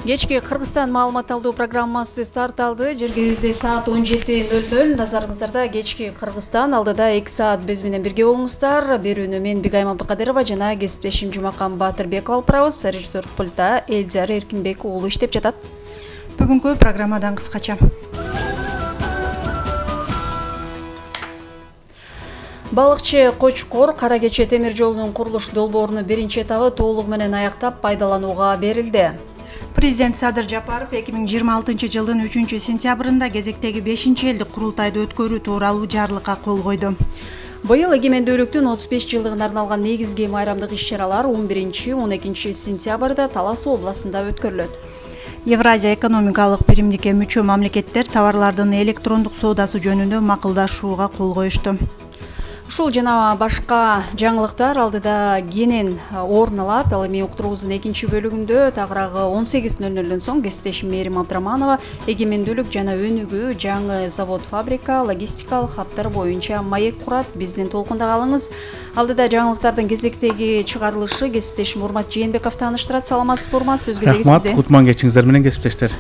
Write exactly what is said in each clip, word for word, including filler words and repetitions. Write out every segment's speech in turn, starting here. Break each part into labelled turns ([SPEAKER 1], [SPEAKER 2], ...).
[SPEAKER 1] Кечки Кыргызстан маалымат алуу программасы старт алды. Жергебизде саат он жети ноль ноль. Назарыңыздарда кечки Кыргызстан, алдыда эки саат биз менен бирге болуңуздар. Берүүнү мен Бигайым Абдыкадырова жана кесиптешим Жумакан Батырбеков алып барабыз. Режиссер пультта Элжар Эркинбек уулу иштеп жатат.
[SPEAKER 2] Бүгүнкү программадан кыскача.
[SPEAKER 1] Балыкчы Кочкор Кара Кече темир жолунун курулуш долбоорунун биринчи этабы толугу менен аяктап пайдаланууга берилди.
[SPEAKER 2] Президент Садыр Жапаров эки миң жыйырма алтынчы жылдын үчүнчү сентябрында кезектеги бешинчи элдик курултайды өткөрүү тууралуу жарлыкка кол койду.
[SPEAKER 1] Быйыл эгемендүүлүктүн отуз беш жылдыгына арналган негизги майрамдык иш-чаралар он биринчи он экинчи сентябрда Талас областында өткөрүлөт.
[SPEAKER 2] Евразия экономикалык биримдикке мүчө мамлекеттер товарлардын электрондук соодасы жөнүндө макулдашууга кол коюшту.
[SPEAKER 1] Ушул жана башка жаңылыктар алдыда кенен орун алат. Ал эми уктуруубуздун экинчи бөлүгүндө тагыраагы он сегиз ноль нолдон соң кесиптешим Мээрим Абдраманова эгемендүүлүк жана өнүгүү, жаңы завод, фабрика, логистикалык хабдар боюнча маек курат. Биздин толкунда калыңыз. Алдыда жаңылыктардын кезектеги чыгарылышы кесиптешим Урмат Жээнбеков тааныштырат. Саламатсызбы, Урмат? Сөз кезеги сизде.
[SPEAKER 3] Рахмат, кутман кечиңиздер менен кесиптештер.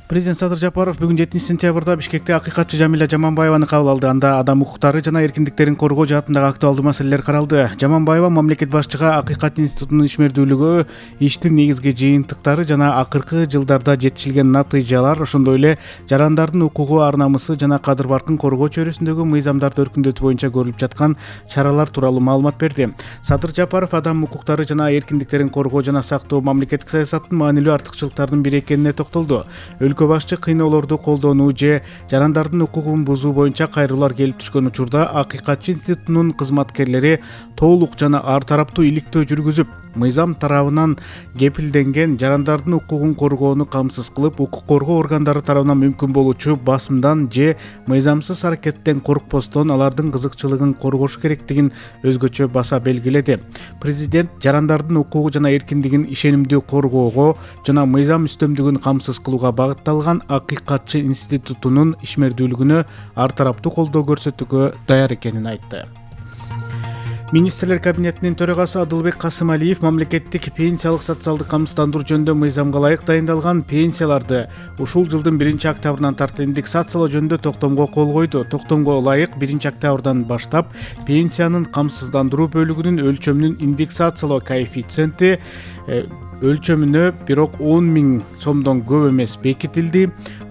[SPEAKER 3] Президент Садыр Жапаров бүгүн жетинчи сентябрда Бишкекте акыйкатчы Жамиля Жаманбаеваны кабыл алды. Анда адам укуктары жана эркиндиктерин коргоо жаатындагы актуалдуу маселелер каралды. Жаманбаева мамлекет башчыга акыйкат институтунун ишмердүүлүгү, иштин негизги жыйынтыктары жана акыркы жылдарда жетишилген натыйжалар, ошондой эле жарандардын укугу, ар намысы жана кадыр баркын коргоо чөйрөсүндөгү мыйзамдарды өркүндөтүү боюнча көрүлүп жаткан чаралар тууралуу маалымат берди. Садыр Жапаров адам укуктары жана эркиндиктерин коргоо жана сактоо мамлекеттик саясаттын маанилүү артыкчылыктарынын бири экенине токтолду. Өлкө башчы кыйноолорду колдонуу же жарандардын укугун бузуу боюнча кайрылуулар келип түшкөн учурда акыйкатчы институтунун кызматкерлери толук жана ар тараптуу иликтөө жүргүзүп, мыйзам тарабынан кепилденген жарандардын укугун коргоону камсыз кылып, укук коргоо органдары тарабынан мүмкүн болуучу басымдан же мыйзамсыз аракеттен коркпостон алардын кызыкчылыгын коргош керектигин өзгөчө баса белгиледи. Президент жарандардын укугу жана эркиндигин ишенимдүү коргоого жана мыйзам үстөмдүгүн камсыз кылууга багытталган акыйкатчы институтунун ишмердүүлүгүнө ар тараптуу колдоо көрсөтүүгө даяр экенин айтты. Министрлер кабинетинин төрагасы Адылбек Касымалиев мамлекеттик пенсиялык социалдык камсыздандыруу жөнүндө мыйзамга ылайык дайындалган пенсияларды ушул жылдын биринчи октябрынан тарт индексациялоо жөнүндө токтомго кол койду. Токтомго ылайык биринчи октябрдан баштап пенсиянын камсыздандыруу бөлүгүнүн өлчөмүнүн индексациялоо коэффициенти өлчөмүнө бирок он миң сомдон көп эмес бекитилди.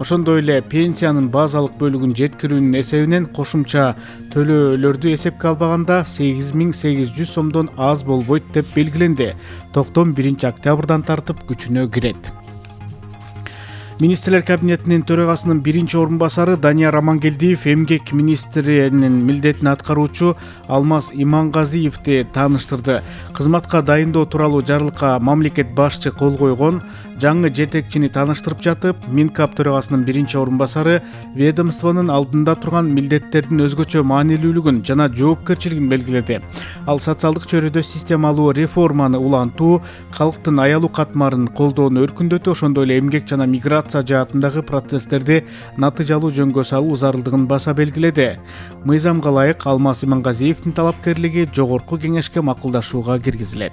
[SPEAKER 3] Ошондой эле пенсиянын базалык бөлүгүн жеткирүүнүн эсебинен кошумча төлөөлөрдү эсепке албаганда сегиз миң сегиз жүз сомдон аз болбойт деп белгиленди. Токтом биринчи октябрдан тартып күчүнө кирет. Министрлер кабинетинин төрагасынын биринчи орун басары Данияр Амангелдиев эмгек министринин милдетин аткаруучу Алмаз Имангазиевди тааныштырды. Кызматка дайындоо тууралуу жарлыкка мамлекет башчы кол койгон. Жаңы жетекчини тааныштырып жатып, Минкап төрагасынын биринчи орун басары ведомствонун алдында турган милдеттердин өзгөчө маанилүүлүгүн жана жоопкерчилигин белгиледи. Ал социалдык чөйрөдө системалуу реформаны улантуу, калктын аялуу катмарын колдоону өркүндөтүү, ошондой эле эмгек жана миграция жаатындагы процесстерди натыйжалуу жөнгө салуу зарылдыгын баса белгиледи. Мыйзамга ылайык Алмаз Имангазиевдин талапкерлиги жогорку кеңешке макулдашууга киргизилет.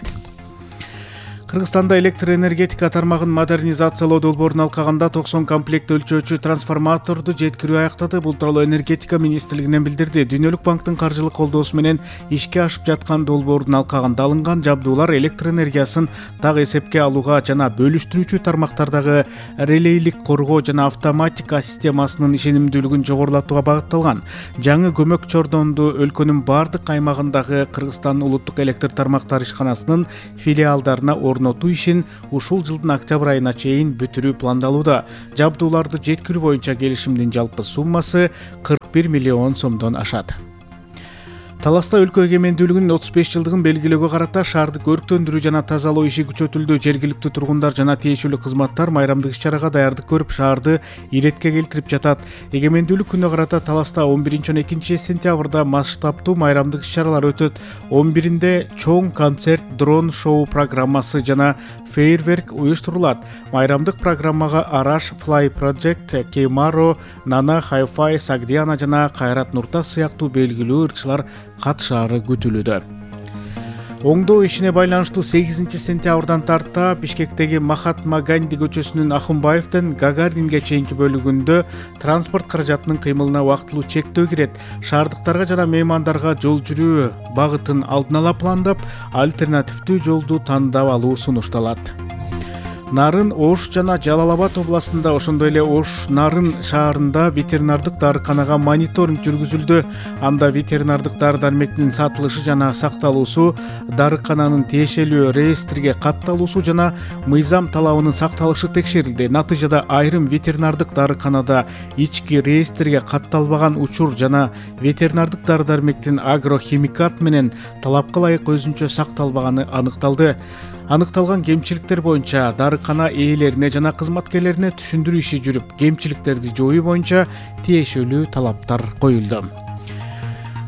[SPEAKER 3] Кыргызстанда электр энергетика тармагын модернизациялоо долбоорун алкаганда токсон комплект өлчөөчү трансформаторду жеткирүү аяктады. Бул тууралуу энергетика министрлигинен билдирди. Дүйнөлүк банктын каржылык колдоосу менен ишке ашып жаткан долбоордун алкагында алынган жабдуулар электр энергиясын так эсепке алууга жана бөлүштүрүүчү тармактардагы релейлик коргоо жана автоматика системасынын ишенимдүүлүгүн жогорулатууга багытталган. Жаңы көмөк чордонду өлкөнүн бардык аймагындагы Кыргызстан улуттук электр тармактары ишканасынын филиалдарына орнотуу ишин ушул жылдын октябрь айына чейин бүтүрүү пландалууда. Жабдууларды жеткирүү боюнча келишимдин жалпы суммасы кырк бир миллион сомдон ашат. Таласта өлкө эгемендүүлүгүнүн отуз беш жылдыгын белгилөөгө карата шаарды көрктөндүрүү жана тазалоо иши күчөтүлдү. Жергиликтүү тургундар жана тиешелүү кызматтар майрамдык иш-чарага даярдык көрүп, шаарды иретке келтирип жатат. Эгемендүүлүк күнүнө карата Таласта он биринчи он экинчи сентябрда масштабтуу майрамдык иш-чаралар өтөт. он биринде чоң концерт, дрон шоу программасы жана фейерверк уюштурулат. Майрамдык программага Араш, Fly Project, Кеймаро, Нана, Hi-Fi, Сагдиана жана Кайрат Нуртас сыяктуу белгилүү ырчылар катышаары күтүлүүдө. Оңдоо ишине байланыштуу сегизинчи сентябрдан тарта Бишкектеги Махатма Ганди көчөсүнүн Ахунбаевден Гагаринге чейинки бөлүгүндө транспорт каражатынын кыймылына убактылуу чектөө кирет. Шаардыктарга жана меймандарга жол жүрүү багытын алдын ала пландап, альтернативдүү жолду тандап алуу сунушталат. Нарын, Ош жана Жалал Абад областында, ошондой эле Ош Нарын шаарында ветеринардык дарыканага мониторинг жүргүзүлдү. Анда ветеринардык дары-дармектин сатылышы жана сакталуусу, дарыкананын тиешелүү реестрге катталуусу жана мыйзам талабынын сакталышы текшерилди. Натыйжада айрым ветеринардык дарыканада ички реестрге катталбаган учур жана ветеринардык дары-дармектин агрохимикат менен талапка ылайык өзүнчө сакталбаганы аныкталды. Аныкталган кемчиликтер боюнча дарыкана ээлерине жана кызматкерлерине түшүндүрүү иши жүрүп, кемчиликтерди жоюу боюнча тиешелүү талаптар коюлду.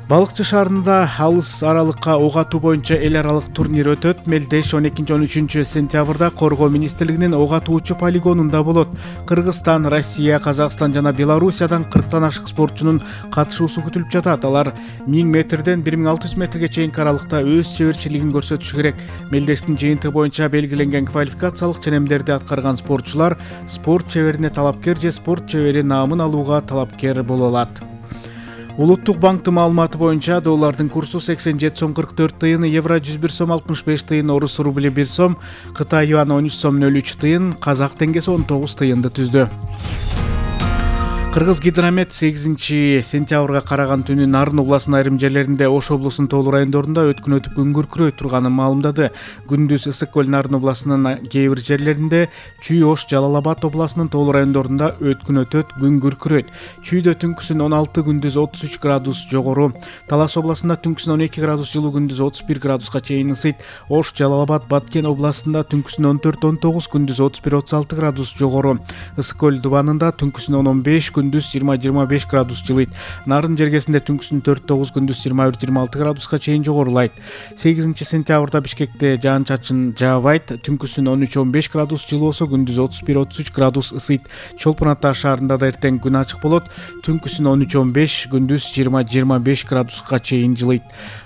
[SPEAKER 3] Балыкчы шаарында алыс аралыкка ок атуу боюнча эл аралык турнир өтөт. Мелдеш он экинчи он үчүнчү сентябрда Коргоо министрлигинин ок атуучу полигонунда болот. Кыргызстан, Россия, Казакстан жана Белоруссиядан кырктан ашык спортчунун катышуусу күтүлүп жатат. Алар миң метрден бир миң алты жүз метрге чейинки аралыкта өз чеберчилигин көрсөтүшү керек. Мелдештин жыйынтыгы боюнча белгиленген квалификациялык ченемдерди аткарган спортчулар спорт чеберине талапкер же спорт чебери наамын алууга талапкер боло алат. Улуттук банктын маалыматы боюнча доллардын курсу сексен жети сом кырк төрт тыйын, евро жүз бир сом алтымыш беш тыйын, орус рубли бир сом, Кытай юаны он үч сом нөл үч тыйын, казак теңгеси он тогуз тыйынды түздү. Кыргыз гидромет сегизинчи сентябрга караган түнү Нарын областынын айрым жерлеринде, Ош облусунун тоолуу райондорунда өткүн өтүп күн күркүрөй турганын маалымдады. Күндүз ысык көл Нарын областынын кээ бир жерлеринде, Чүй, Ош, Жалал Абад областынын тоолуу райондорунда өткүн өтөт, күн күркүрөйт. Чүйдө түнкүсүн он алты, күндүз отуз үч градус жогору. Талас областында түнкүсүн он эки градус жылуу, күндүз отуз бир градуска чейин ысыйт. Ош, Жалал Абад, Баткен областында түнкүсүн он төрт он тогуз, күндүз отуз бир отуз алты градус жогору. Ысык көл дубанында түнкүсүн он он беш, күндүз жыйырма жыйырма беш градус жылыйт. Нарын жергесинде түнкүсүн төрт тогуз, күндүз жыйырма бир жыйырма алты градуска чейин жогорулайт. сегизинчи сентябрда Бишкекте жаан-чачын жаабайт. Түнкүсүн он үч он беш градус жылуу болсо, күндүз отуз бир отуз үч градус ысыйт. Чолпон Ата шаарында да эртең күн ачык болот. Түнкүсүн он үч он беш, күндүз жыйырма жыйырма беш градуска чейин жылыйт.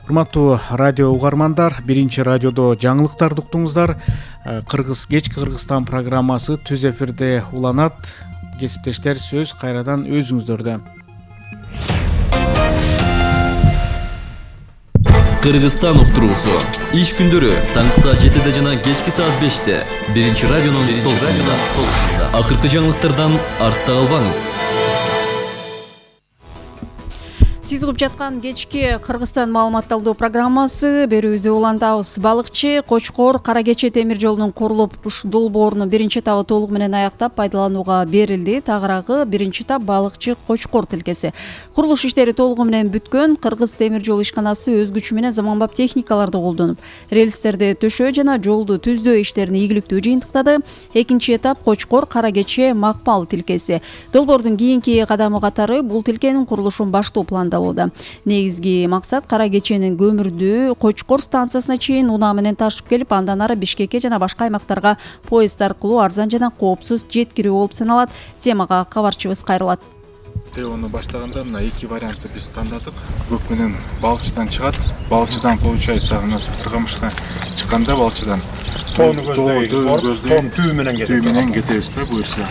[SPEAKER 3] Урматтуу радио угармандар, биринчи радиодо жаңылыктарды уктуңуздар. Кыргыз кечки Кыргызстан программасы түз эфирде уланат. Кесиптештер, сөз кайрадан өзүңүздөрдө.
[SPEAKER 4] Кыргызстан уктуруусу иш күндөрү таңкы саат жетиде жана кечки саат беште биринчи радионун толкунунда. Акыркы жаңылыктардан артта калбаңыз.
[SPEAKER 1] Сиз угуп жаткан кечки Кыргызстан маалыматталдоо программасы берүүбүздө улантабыз. Балыкчы Кочкор Кара Кече темир жолунун курулуп долбоорунун биринчи этабы толугу менен аяктап пайдаланууга берилди. Тагыраагы биринчи этап Балыкчы Кочкор тилкеси. Курулуш иштери толугу менен бүткөн. Кыргыз темир жол ишканасы өз күчү менен заманбап техникаларды колдонуп, рельстерди төшөө жана жолду түздөө иштерин ийгиликтүү жыйынтыктады. Экинчи этап Кочкор Кара Кече Макпал тилкеси. Долбоордун кийинки кадамы катары бул тилкенин курулушун баштоо пландалууда. Негизги максат Кара Кеченин көмүрдү Кочкор станциясына чейин унаа менен ташып келип, андан ары Бишкекке жана башка аймактарга поезд аркылуу арзан жана коопсуз жеткирүү болуп саналат. Темага кабарчыбыз кайрылат.
[SPEAKER 5] Теону баштаганда мына эки вариантты биз тандадык. Көк менен Балыкчыдан чыгат. Балыкчыдан получается мына Кыргамышка чыкканда Балыкчыдан
[SPEAKER 6] тоону көздөйбүз, түү менен
[SPEAKER 5] түү менен кетебиз да буюрса.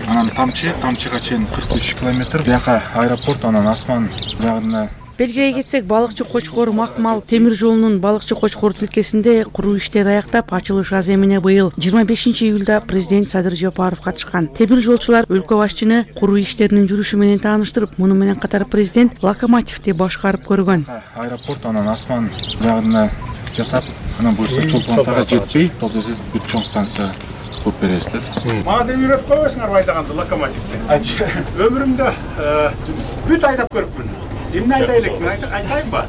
[SPEAKER 5] Анан тамчы, тамчыга чейин кырк үч километр. Бияка аэропорт, анан асман жагына.
[SPEAKER 7] Белгилей кетсек, Балыкчы Кочкор Макмал темир жолунун Балыкчы Кочкор тилкесинде куруу иштери аяктап, ачылыш аземине быйыл жыйырма бешинчи июлда президент Садыр Жапаров катышкан. Темир жолчулар өлкө башчыны куруу иштеринин жүрүшү менен тааныштырып, муну менен катар президент локомотивди башкарып көргөн.
[SPEAKER 5] Аэропорт, анан асман жагына жасап, анан буюрса Чолпон Атага жетпей, бул жерде бүт чоң станция куруп беребиз да.
[SPEAKER 6] Мага деп үйрөтүп койбойсуңар айдаганды локомотивди. Өмүрүмдө бүт айдап көрүпмүн. Эмне айдайлык, мен айтайынбы?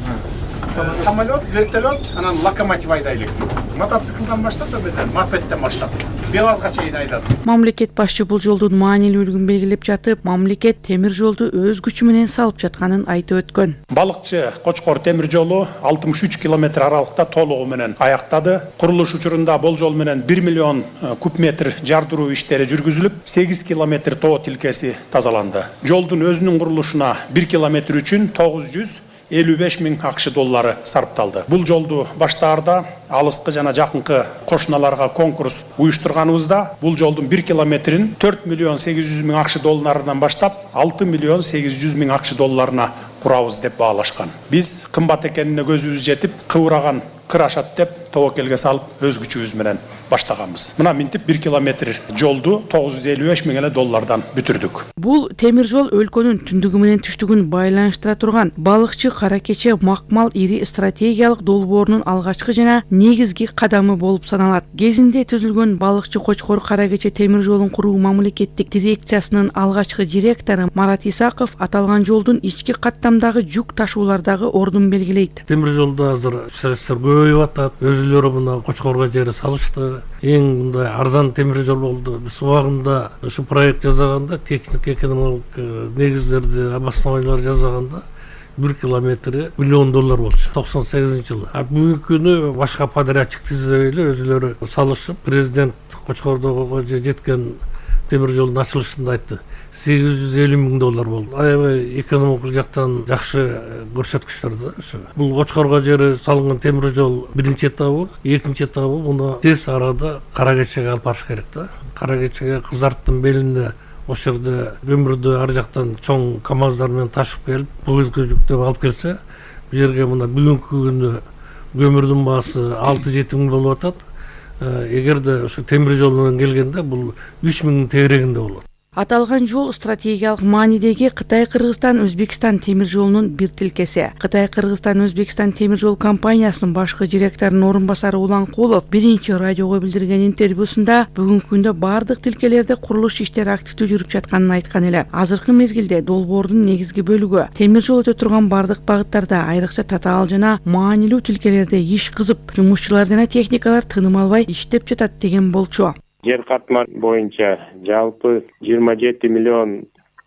[SPEAKER 6] Самолет, вертолет, анан локомотив айдайлык. Мотоциклдан баштап, мопедден баштап, БелАЗга чейин айдады.
[SPEAKER 7] Мамлекет башчы бул жолдун маанилүүлүгүн белгилеп жатып, мамлекет темир жолду өз күчү менен салып жатканын айтып өткөн.
[SPEAKER 6] Балыкчы Кочкор темир жолу алтымыш үч километр аралыкта толугу менен аяктады. Курулуш учурунда бул жол менен бир миллион куб метр жардыруу иштери жүргүзүлүп, сегиз километр тоо тилкеси тазаланды. Жолдун өзүнүн курулушуна бир километр үчүн тогуз жүз элүү беш миң акш доллары сарпталды. Бул жолду баштаарда алыскы жана жакынкы кошуналарга конкурс уюштурганыбызда бул жолдун бир километрин төрт миллион сегиз жүз миң акш долларынан баштап алты миллион сегиз жүз миң акш долларына курабыз деп баалашкан. Биз кымбат экенине көзүбүз жетип, кыбыраган кыр ашат деп тобокелге салып өз күчүбүз менен баштаганбыз. Мына минтип бир километр жолду тогуз жүз элүү беш миң эле доллардан бүтүрдүк.
[SPEAKER 7] Бул темир жол өлкөнүн түндүгү менен түштүгүн байланыштыра турган балыкчы Кара Кече макмал ири стратегиялык долбоорунун алгачкы жана негизги кадамы болуп саналат. Кезинде түзүлгөн балыкчы Кочкор Кара Кече темир жолун куруу мамлекеттик дирекциясынын алгачкы директору Марат Исаков аталган жолдун ички каттамдагы жүк ташуулардагы ордун белгилейт.
[SPEAKER 8] Темир жолдо азыр средствор көбөйүп атат. Өзүлөрү мына Кочкорго жери салышты. Эң мындай арзан темир жол болду. Биз убагында ушу проект жасаганда, техник экономикалык негиздерди, обоснованиялар жасаганда бир километри миллион доллар болчу токсон сегизинчи жылы. А бүгүнкү күнү башка подрядчикти издебей эле өзүлөрү салышып, президент Кочкордого жеткен темир жолдун ачылышында айтты. сегиз жүз элүү миң доллар болду. Аябай экономикалык жактан жакшы көрсөткүчтөр да ушу. Бул Кочкорго жери салынган темир жол биринчи этабы, экинчи этабы муну тез арада Кара Кечеге алып барыш керек да. Кара Кечеге Кызарттын белине ошол жерде көмүрдү ар жактан чоң камаздар менен ташып келип, погрузка жүктөп алып келсе, бул жерге мына бүгүнкү күнү көмүрдүн баасы алты жети миң болуп атат. Эгерде ошо темир жол менен келгенде бул үч миңдин тегерегинде болот.
[SPEAKER 7] Аталган жол стратегиялык маанидеги Кытай-Кыргызстан-Өзбекстан темир жолунун бир тилкеси. Кытай-Кыргызстан-Өзбекстан темир жол компаниясынын башкы директорунун орун басары Улан Кулов биринчи радиого билдирген интервьюсунда бүгүнкү күндө бардык тилкелерде курулуш иштери активдүү жүрүп жатканын айткан эле. Азыркы мезгилде долбоордун негизги бөлүгү темир жол өтө турган бардык багыттарда, айрыкча татаал жана маанилүү тилкелерде иш кызып, жумушчулар жана техникалар тыным албай иштеп жатат деген болчу.
[SPEAKER 9] Жер катма боюнча жалпы жыйырма жети миллион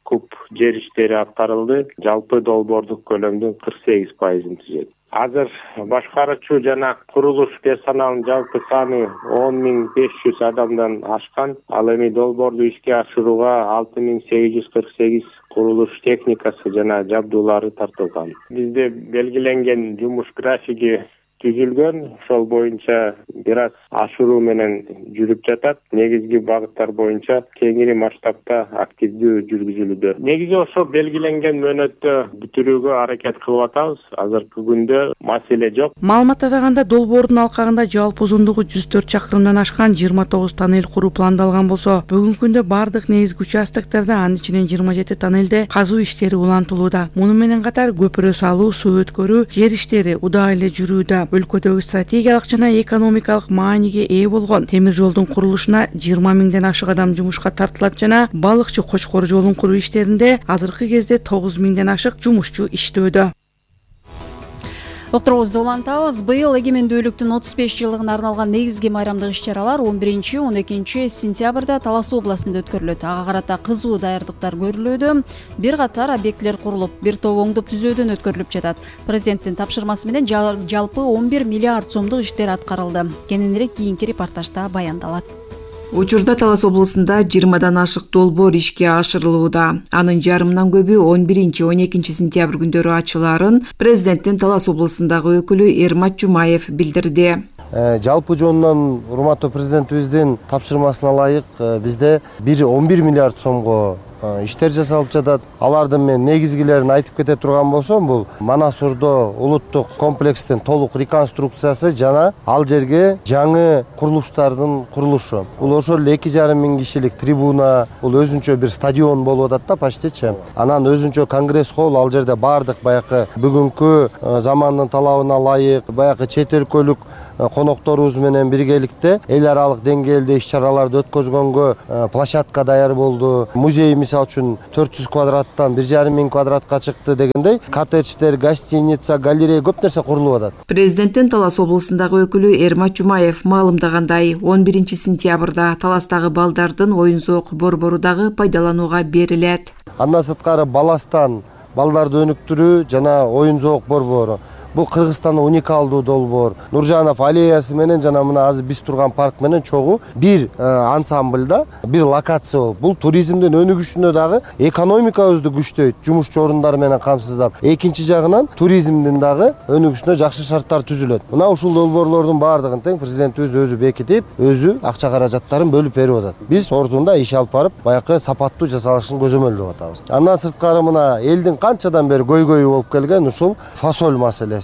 [SPEAKER 9] куб жер иштери аткарылды. Жалпы долбоордук көлөмдүн кырк сегиз пайызын түзөт. Азыр башкаруучу жана курулуш персоналынын жалпы саны он миң беш жүз адамдан ашкан. Ал эми долбоорду ишке ашырууга алты миң сегиз жүз кырк сегиз курулуш техникасы жана жабдуулары тартылган. Бизде белгиленген жумуш графиги түзүлгөн, ошол боюнча бир аз ашыруу менен жүрүп жатат. Негизги багыттар боюнча кеңири масштабта активдүү жүргүзүлүүдө. Негизи ошо белгиленген мөөнөттө бүтүрүүгө аракет кылып атабыз. Азыркы күндө маселе жок.
[SPEAKER 7] Маалымат атаганда долбоордун алкагында жалпы узундугу жүз төрт чакырымдан ашкан жыйырма тогуз тоннель куруу пландалган болсо, бүгүнкү күндө бардык негизги участоктарда анын ичинен жыйырма жети тоннелде казуу иштери улантылууда. Муну менен катар көпүрө салуу, суу өткөрүү, жер иштери удаа эле жүрүүдө. Өлкөдөгү стратегиялык жана экономикалык мааниге ээ болгон темир жолдун курулушуна жыйырма миңден ашык адам жумушка тартылат жана балыкчы Кочкор жолун куруу иштеринде азыркы кезде тогуз миңден ашык жумушчу иштөөдө.
[SPEAKER 1] Уктуруубузду улантабыз. Быйыл эгемендүүлүктүн отуз беш жылдыгына арналган негизги майрамдык иш-чаралар он биринчи он экинчи сентябрда Талас областында өткөрүлөт. Ага карата кызуу даярдыктар көрүлүүдө. Бир катар объектилер курулуп, бир топ оңдоп түзөөдөн өткөрүлүп жатат. Президенттин тапшырмасы менен жалпы он бир миллиард сомдук иштер аткарылды. Кененирээк кийинки репортажда баяндалат.
[SPEAKER 10] Учурда Талас облусунда жыйырмадан ашык долбоор ишке ашырылууда. Анын жарымынан көбү он биринчи он экинчи сентябрь күндөрү ачылаарын президенттин Талас облусундагы өкүлү Эрмат Жумаев билдирди.
[SPEAKER 11] Жалпы жонунан урматтуу президентибиздин тапшырмасына ылайык бизде бир он бир миллиард сомго иштер жасалып жатат. Алардын мен негизгилерин айтып кете турган болсом, бул Манас Ордо улуттук комплекстин толук реконструкциясы жана ал жерге жаңы курулуштардын курулушу. Бул ошол эле эки жарым миң кишилик трибуна, бул өзүнчө бир стадион болуп атат да почтичи. Анан өзүнчө конгресс холл, ал жерде бардык баягы бүгүнкү замандын талабына ылайык, баягы чет өлкөлүк конокторубуз менен биргеликте эл аралык деңгээлде иш-чараларды өткөзгөнгө площадка даяр болду. Музейибиз мисалы үчүн төрт жүз квадраттан бир жарым миң квадратка чыкты дегендей коттедждер, гостиница, галерея көп нерсе курулуп атат.
[SPEAKER 10] Президенттин Талас облусундагы өкүлү Эрмат Жумаев маалымдагандай, он биринчи сентябрда Таластагы балдардын оюн зоок борбору дагы пайдаланууга берилет.
[SPEAKER 11] Андан сырткары Баластан балдарды өнүктүрүү жана оюн зоок борбору. Бул Кыргызстанда уникалдуу долбоор. Нуржанов аллеясы менен жана мына азыр биз турган парк менен чогуу бир ансамбльда, бир локация болуп, бул туризмдин өнүгүшүнө дагы экономикабызды күчтөйт, жумушчу орундар менен камсыздап. Экинчи жагынан туризмдин дагы өнүгүшүнө жакшы шарттар түзүлөт. Мына ушул долбоорлордун баардыгын тең президентибиз өзү бекитип, өзү акча каражаттарын бөлүп берип атат. Биз ордунда иш алып барып, баягы сапаттуу жасалышын көзөмөлдөп атабыз. Андан сырткары мына элдин канчадан бери көйгөйү болуп келген ушул фасоль маселеси.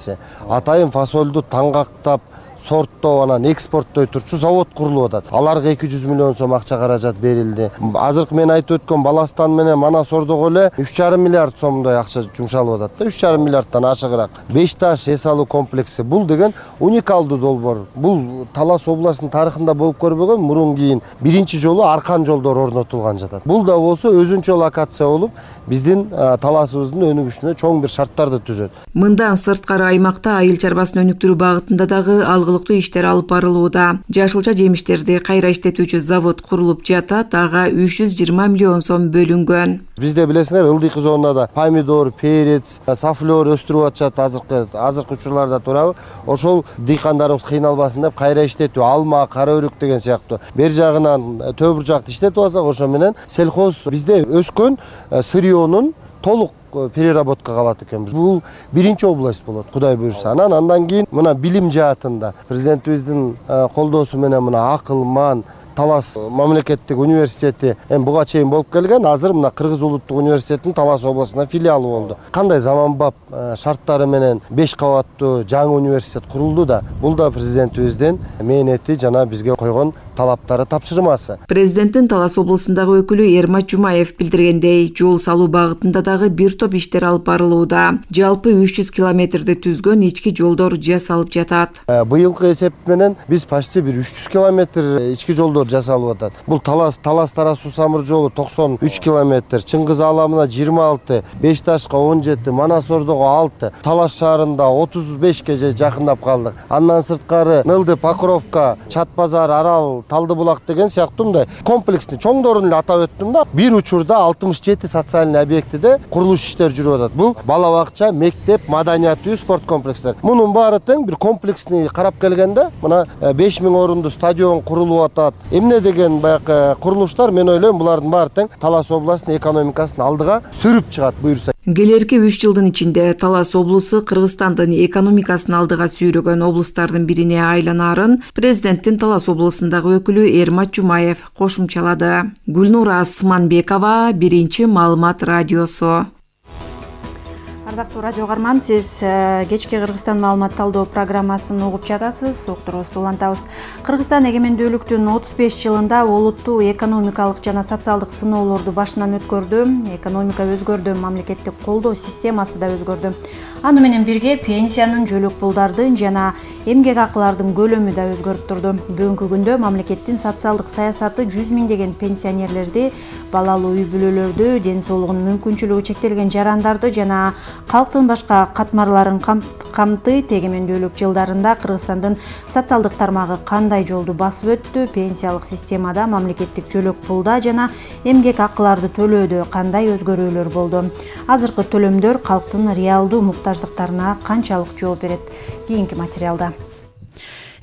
[SPEAKER 11] Атайын фасолду таңгактап, сорттоо, анан экспорттой турчу завод курулуп атат. Аларга эки жүз миллион сом акча каражат берилди. Азыркы мен айтып өткөн Баластан менен Манас Ордого эле үч жарым миллиард сомдой акча жумшалып атат да, үч жарым миллиардтан ашыгыраак. Беш таш эс алуу комплекси бул деген уникалдуу долбоор. Бул Талас областынын тарыхында болуп көрбөгөн, мурун кийин биринчи жолу аркан жолдор орнотулган жатат. Бул да болсо өзүнчө локация болуп, биздин Таласыбыздын өнүгүшүнө чоң бир шарттарды түзөт.
[SPEAKER 10] Мындан сырткары аймакта айыл чарбасын өнүктүрүү багытында дагы алгылыктуу иштер алып барылууда. Жашылча жемиштерди кайра иштетүүчү завод курулуп жатат, ага үч жүз жыйырма миллион сом бөлүнгөн.
[SPEAKER 11] Бизде билесиңер, ылдыйкы зонада помидор, перец, сафлер өстүрүп атышат азыркы азыркы учурларда турабы. Ошол дыйкандарыбыз кыйналбасын деп кайра иштетүү, алма, кара өрүк деген сыяктуу. Бер жагынан төбүр жакты иштетип алсак, ошо менен сельхоз бизде өскөн сырьёнун толук переработкага алат экенбиз. Бул биринчи область болот, Кудай буйрса. Анан андан кийин мына билим жаатында президентибиздин колдоосу менен мына Акылман Талас мамлекеттик университети эми буга чейин болуп келген, азыр мына Кыргыз улуттук университетинин Талас областына филиалы болду. Кандай заманбап шарттары менен беш кабаттуу жаңы университет курулду да, бул да президентибиздин мээнети жана бизге койгон талаптары, тапшырмасы.
[SPEAKER 10] Президенттин Талас облусундагы өкүлү Эрмат Жумаев билдиргендей, жол салуу багытында дагы бир топ иштер алып барылууда. Жалпы үч жүз километрди түзгөн ички жолдор жасалып жатат.
[SPEAKER 11] Быйылкы эсеп менен биз почти бир үч жүз километр ички жолдор жасалып атат. Бул Талас Талас Тараз суу самыр жолу токсон үч километр, Чыңгыз Ааламына жыйырма алты, Беш Ташка он жети, Манас Ордого алты, Талас шаарында отуз бешке жакындап калдык. Андан сырткары Нылды, Покровка, Чат базар, Арал, Талды булак деген сыяктуу мындай комплекстин чоңдорун эле атап өттүм да. Бир учурда алтымыш жети социальный объектиде курулуш иштери жүрүп атат. Бул бала бакча, мектеп, маданият үй, спорт комплекстер. Мунун баары тең бир комплексни карап келгенде, мына беш миң орунду стадион курулуп атат. Эмне деген баягы курулуштар, мен ойлойм, булардын баары тең Талас областынын экономикасын алдыга сүрүп чыгат буйрса.
[SPEAKER 10] Келерки үч жылдын ичинде Талас облусу Кыргызстандын экономикасын алдыга сүйрөгөн облустардын бирине айланарын президенттин Талас облусундагы өкүлү Эрмат Жумаев кошумчалады. Гүлнура Асманбекова, Биринчи маалымат радиосу.
[SPEAKER 2] Ардактуу радио каарман, сиз кечки Кыргызстан маалымат талдоо программасын угуп жатасыз. Уктуруубузду улантабыз. Кыргызстан эгемендүүлүктүн отуз беш жылында олуттуу экономикалык жана социалдык сыноолорду башынан өткөрдү. Экономика өзгөрдү, мамлекеттик колдоо системасы да өзгөрдү. Аны менен бирге пенсиянын, жөлөк пулдардын жана эмгек акылардын көлөмү да өзгөрүп турду. Бүгүнкү күндө мамлекеттин социалдык саясаты жүз миңдеген пенсионерлерди, балалуу үй бүлөлөрдү, ден соолугунун мүмкүнчүлүгү чектелген жарандарды жана калктын башка катмарларын камтыйт. Эгемендүүлүк жылдарында Кыргызстандын социалдык тармагы кандай жолду басып өттү? Пенсиялык системада, мамлекеттик жөлөк пулда жана эмгек акыларды төлөөдө кандай өзгөрүүлөр болду? Азыркы төлөмдөр калктын реалдуу муктаждыктарына канчалык жооп берет? Кийинки материалда.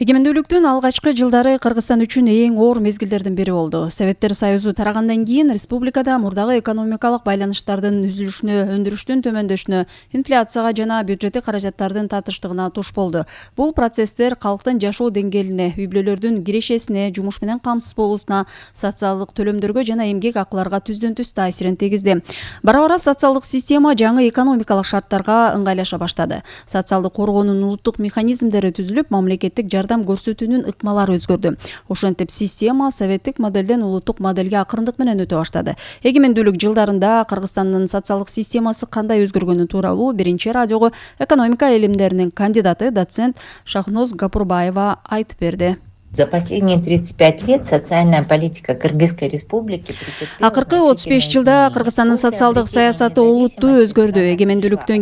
[SPEAKER 1] Эгемендүүлүктүн алгачкы жылдары Кыргызстан үчүн эң оор мезгилдердин бири болду. Советтер Союзу тарагандан кийин республикада мурдагы экономикалык байланыштардын үзүлүшүнө, өндүрүштүн төмөндөшүнө, инфляцияга жана бюджеттик каражаттардын татыштыгына туш болду. Бул процесстер калктын жашоо деңгээлине, үй бүлөлөрдүн кирешесине, жумуш менен камсыз болуусуна, социалдык төлөмдөргө жана эмгек акыларга түздөн түз таасирин тийгизди. Бара-бара социалдык система жаңы экономикалык шарттарга ыңгайлаша баштады. Социалдык коргоонун улуттук механизмдери түзүлүп, мамлекеттик жардам көрсөтүүнүн ыкмалары өзгөрдү. Ошентип система советтик моделден улуттук модельге акырындык менен өтө баштады. Эгемендүүлүк жылдарында Кыргызстандын социалдык системасы кандай өзгөргөнү тууралуу Биринчи радиого экономика илимдеринин кандидаты, доцент Шахноз Гапурбаева айтып берди.
[SPEAKER 12] За последние тридцать пять лет социальная политика Кыргызской республики
[SPEAKER 1] акыркы отуз беш жылда Кыргызстандын социалдык саясаты олуттуу өзгөрдү. Эгемендүүлүктөн